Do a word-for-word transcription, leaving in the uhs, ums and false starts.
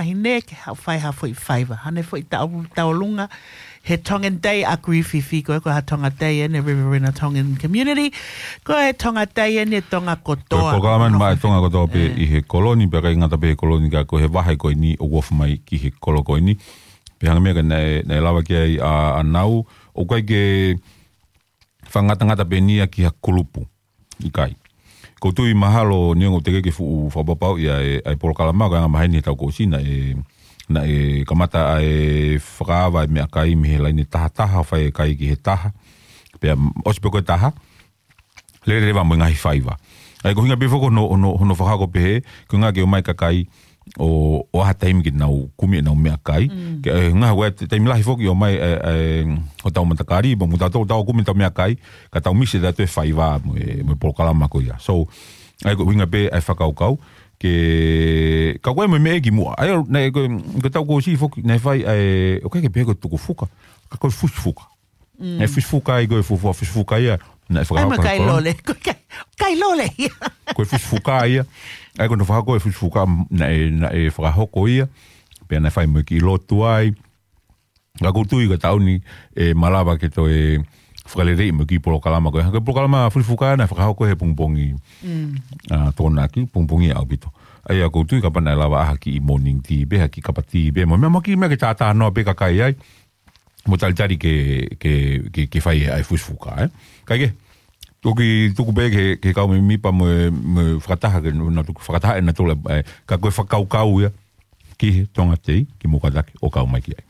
fefine ke ha-, fai ha foʻi faiva. Hangē foʻi tau-, tauʻolunga he Tongan Day ʻa Griffith, ko e ko ha Tonga Day eni, Riverina Tongan Community. Ko e Tonga Day eni e Tonga kotoa. Ko e polokalama eni maʻa e Tonga kotoa pē ʻi he kolo ni, pea ʻikai ngata pē he kolo ni ka ko e vahe ko eni ʻoku ofi mai ki he kolo ko eni. Pea hangē ko e meʻa naʻe, naʻe lave ki ai ʻa, ʻa Nau, ʻoku ʻikai ke fakangatangata pē eni ia ki ha kulupu. ʻIkai. ʻOku ou tui mahalo neongo teʻeki ke fuʻu fakapapauʻi ʻa e, ʻa e polokalama, ko e anga maheni he taʻu kuo ʻosi naʻe, naʻe kamata ʻa e fakaava e meʻakai mei he laine taha taha, fai e kai ki he taha. Pea ʻosi pē ko e taha, lele leva mo e ngaahi faiva. ʻA ia ko e ʻuhinga pē foki hono, hono, hono fakahoko pehē, ko e ʻuhinga ke ō mai e kakai ʻo, ʻo ʻai ha taimi ke nau kumi ʻenau meʻakai. Ke, ʻe, ngaahi ʻa e taimi lahi foki ʻo ō mai, ʻe, ʻe, hotau matakali, mo mutau tau kumi ʻetau meʻakai, ka tau misi ʻetau toe faiva mo e, mo e polokalama ko ia. So, ʻa ia ko e ʻuhinga pē ʻa e fakakaukau, ke, ka ko e mo e meʻa ki muʻa. ʻA ia, naʻe ko, ko e taʻu kuo ʻosi foki, naʻe fai ʻa e, ʻoku ʻikai ke pehē ko e tukufuka, ka ko e fusifuka. ʻE fusifuka ia, ko e fuafua fusifuka ia. Naʻe fakahoko mo e kai lole. Ko e kai, kai lole ia. Ko e fusifuka ia. ʻA ia ko hono fakahoko e fusifuka, naʻe, naʻe fakahoko ia. Pea naʻe fai mo e kiʻi lotu ai. Ka ʻoku ou tui ko e taʻu ni ʻe malava ke toe fakaleleiʻi mo e kiʻi polokalama ko e. Ko e polokalama fusifuka naʻe fakahoko he pongipongi. ʻA, Tokonaki, pongipongi ʻaupito. ʻA ia ʻoku ou tui kapau naʻe lava ʻa ha kiʻi morning tea pē, ha kiʻi kapa tea pē. Mo e meʻa mo e kiʻi meʻa ke tātānoa pē kakai ai. Mo talitali ke, ke, ke, ke fai ʻa e fusifuka, ē. Kae kehe, toki tuku pē ke, ke kau mai Mipa mo e, mo e fakataha ke, na tuku fakataha ʻe na tole, ē, ka ko e fakakaukau ia, ki he Tonga Day, ke mou kātaki ʻo kau mai ki ai.